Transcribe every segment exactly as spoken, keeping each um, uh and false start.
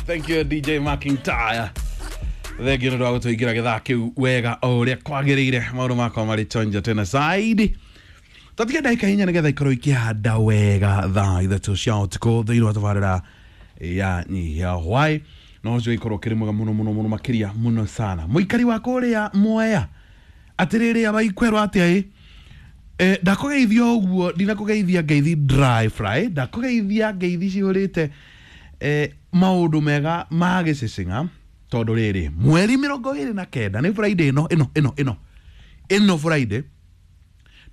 Thank you D J McIntyre. Thengio nĩ ũndũ wa gũtũingĩra gĩthaa kĩu wega o ũrĩa kwagĩrĩire, maũndũ makwa marĩ chonjo tena zaidi. Tatiga ndagĩka inya nĩgetha ikorwo ikĩhanda wega thaa ithatũ cia ũtukũ thĩinĩ wa tabarĩra ya Nyihia Hwai, na ũcio ikorwo ũkĩrĩ mwega mũno mũno mũno makĩria mũno sana. Mũikari wa kũrĩa Mwea, atĩrĩrĩ, abaikwerwo atĩa ĩ? Eh, ndakũgeithia ũguo, ndinakũgeithia ngeithi dry fry, ndakũgeithia ngeithi cihũrĩte eh, maũndũ mega ma gĩcĩcĩng'a, tondũ rĩrĩ mweri mĩrongo ĩrĩ na kenda nĩ Friday ĩno ĩno ĩno ĩno ĩno Friday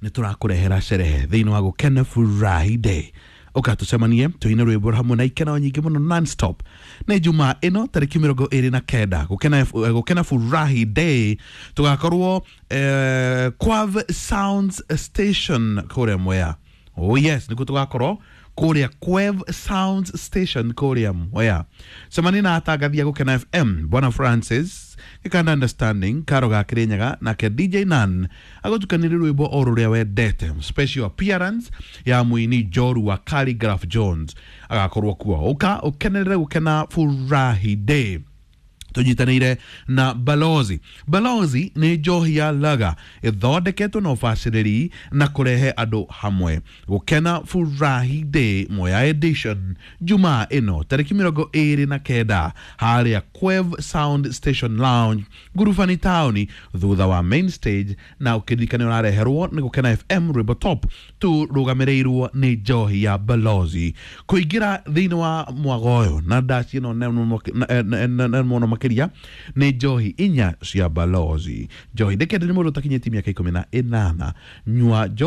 nĩ tũrakũrehera sherehe thĩinĩ wa Gũkena Friday. Ũka tũcemanie tũine rwĩmbo hamwe na ikeno nyingĩ mũno non-stop. Nĩ Jumaa ĩno tarĩki mĩrongo ĩrĩ na kenda, Gũkena, eh, Gũkena Furahi Day, tũgakorwo eh, Quav Sounds Station kũrĩa Mwea. Oh yes, nĩkuo tũgakorwo kũrĩa Quev Sounds Station kũrĩa Mwea. Cemania na atangathia Gũkena F M, Bwana Francis Gĩkanda, Understanding Karo ga Kĩrĩnyaga, nake D J Nan agũtukanĩrie rwĩmbo o rũrĩa wendete. Special appearance ya mũini Joru wa Calligraph Jones agakorwo kuo. Ũka ũkenerere Gũkena Furahi Day tũnyitanĩire na Balozi. Balozi nĩ njohi ya laga ĩthondeketwo na ũbacĩrĩri na kũrehe andũ hamwe. Gũkena Furahi Day Mwea edition, Jumaa ĩno tarĩki mĩrongo ĩrĩ na kenda, harĩa Quev Sound Station Lounge, Ngurubani taũni, thutha wa main stage. Na ũkĩririkane ũrareherwo nĩ Gũkena F M, rwĩmbo top tũrũgamĩrĩirwo nĩ njohi ya Balozi. Kũingĩra thĩinĩ wa mwago ũyũ na ndaci ĩno nene mũno makĩria nĩ njohi inya cia Balozi. Njohi ndĩkende nĩ mũndũ ũtakinyĩtie mĩaka ikũmi na ĩnana. Nyua njohi.